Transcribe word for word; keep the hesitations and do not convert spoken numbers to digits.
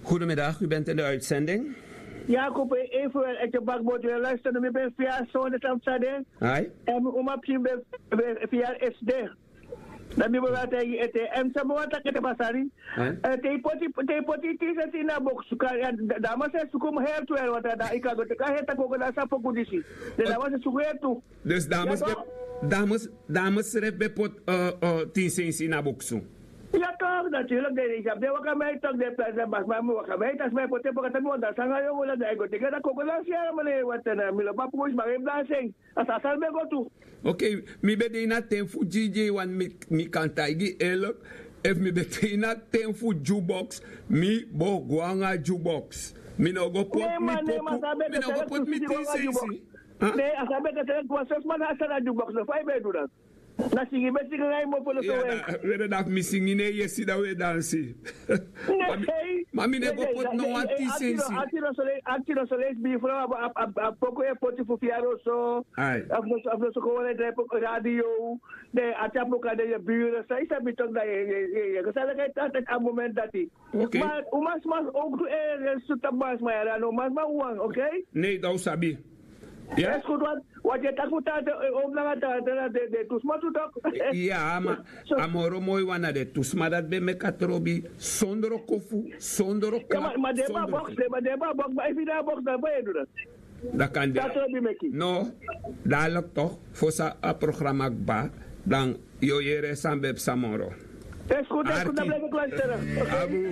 Goedemiddag, u bent in de uitzending. Ya, kope, even wel ete bakbot wel luister no mi ben fia sonde tam sade. Ai. En mi uma pikin ben fia esde. Dan mi ben wata ete en sama wata kete basari. Te ipoti te ipoti tise si na boksu ka. Dama se sukum her tu el wata da ikago te ka heta koko da sa poku disi. De dama se suku her tu. Dus dames, dames, dames sref ben pot tin sensi na boksu. Ya toch, natuurlijk. Den is op de waka mij toch de plaats en bas maar mi waka mij tas mij pote poka tabi wanda sanga yo wala de go tege da koko da siara mane wata na mi lo bapu is maar even daar zijn. Als asal ben go tu. Ok, mi ben de na ten fu dj wan mi kan taigi elk. Efu mi ben de na ten fu jukebox, mi bo go anga jukebox. Mi no go pot mi poku, mi no go pot mi tin sensi. Ne a sabi dat er was zes man had staan aan jukebox no five bij doen. Na singi ben singi na imo polo so we. Were dat mi singi ne yesi da we dansi. Ma mi ne go pot no wan tin sensi. Ati no soleis bi fro a poku e poti fu fiaro so. Afu no soko wan e drai poku radio. Ne ati a poku ade ye bure sa isa mi tok da ye ye ye. Sa leke a moment dati. Ok. Ma umasma ook tu e suta basma ya dan umasma wan, ok. Ne dan usabi. Ya. Eskutu wat wat ye taku tante. Om nanga tante na de de tu sma tu tok. Ya ma a moro moi wan na de tu sma dat ben meki a trobi. Sondro kofu sondro kla. Ma de ba box de ba de ba box ma efi na box dan ba ye du dat. Dat kan de. No. Dadelijk toch fosa a programma kba dan. Yo yere san ben psa moro. Eskutu eskutu dan blijf ik luisteren. Abu.